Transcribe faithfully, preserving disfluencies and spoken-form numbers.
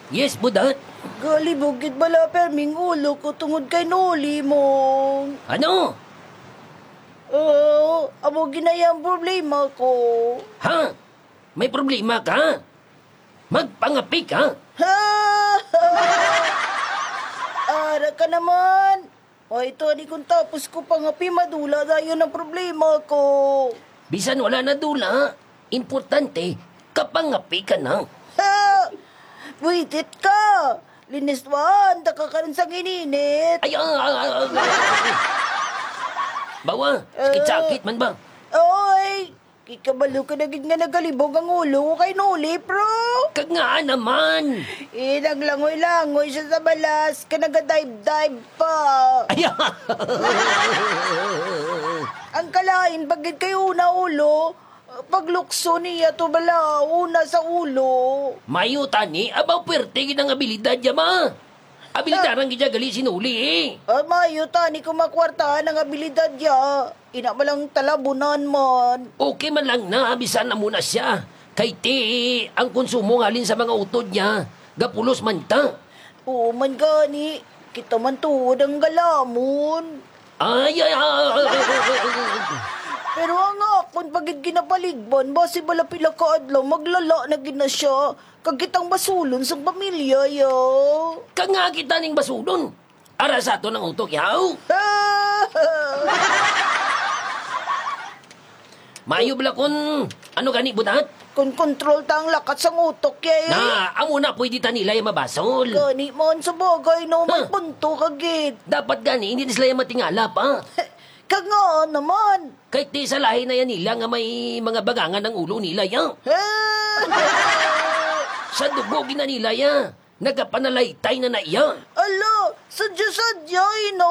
Yes, Budat? Galibog gid bala perming ulo ko tungod kay Noli, Mong. Ano? Oo, amo ginaya ang problema ko. Ha? May problema ka? Magpangapi ka? Ara ka naman. O, ito, ani, kung tapos ko pangapi, madula dayon ang problema ko. Bisan wala na dula, importante, kapangapi ka na. Ha! Buitit ka! Liniswahan ta ka karon sa gininit. Ay, ah, ah, ah, ah. Bawa, sakit-sakit man ba? Oy! Kikabalo ka na gid nga nagalibog ang ulo ko kay Noli, pro. Kag ngaa naman? Eh, naglangoy-langoy siya sa balas, ka nagadive-dive pa. Ay, ah. Ang kalain pa gid kay una ulo, paglukso niya to bala, una sa ulo. Mayo tani, abaw, pwerte gid ang abilidad niya, ma. Abilidaran gid siya gali si Noli, eh. Ah, mayo tani kung makwartahan ang abilidad niya. Ina man lang talabunan man. Okay man lang na, bisan amo na siya. Kay ti, ang konsumo ngalin sa mga utod niya, gapulos man ta. Oo man gani, kita man tuod ang galamon. Ay, ay, ay, ay, ay, ay, ay, ay. Pero ang akon pa gid ginapaligban, basi bala pila ka adlaw, maglala na gid na siya. Kag kitang basulon sang pamilya, ya. Kag nga kita ning basulon. Ara sa aton ang utok, yaw. Maayo bala kun ano gani, Budat? Kun kontrol ta ang lakat sang utok, ya, eh. Na, amo na pwede ta nila yung mabasol. Gani man sa bagay, no, may Huh? punto ka gid. Dapat gani, hindi na sila yung matingala pa. Kag nga naman. Kay ti sa lahi na yan nila nga may mga bagangan ang ulo nila, ya. Sa dugo gina nila, ya. Nagapanalaytay na na iya. Ala, sadya-sadya, eh, no?